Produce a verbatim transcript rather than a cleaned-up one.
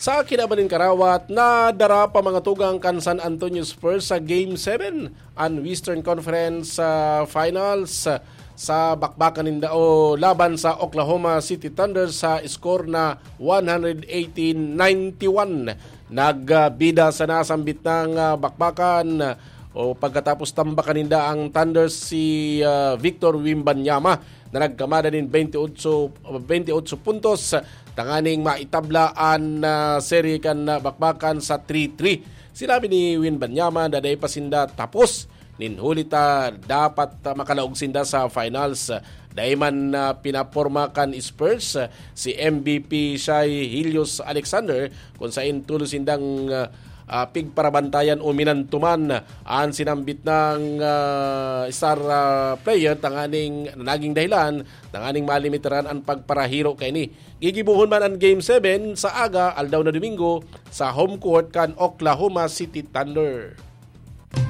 Sa kinaban nin karawat, nadara pa mga tugang kan San Antonio Spurs sa Game seven an Western Conference ah, Finals ah, sa bakbakan ninda o laban sa Oklahoma City Thunder sa score na one hundred eighteen ninety-one. Nagbida sa nasambit ng ah, bakbakan ah, o pagkatapos tambakan ninda ang Thunder si ah, Victor Wembanyama na nagkamada nin twenty-eight, twenty-eight puntos tanganing maitabla an ah, serye kan ah, bakbakan sa three three. Sinabi ni Wembanyama na dai pa sinda tapos nin huli ta dapat ah, makalaog sinda sa finals. Dai man ah, pinaporma kan Spurs ah, si M V P Shai Gilgeous-Alexander, kung sain tulos sindang ah, ah, pigparabantayan o minantuman an sinambit ng ah, star ah, player tanganing naging dahilan tanganing malimitaran an pagparahiro kaini. Gigibohon man an Game seven sa aga, aldaw na Domingo, sa home court kan Oklahoma City Thunder.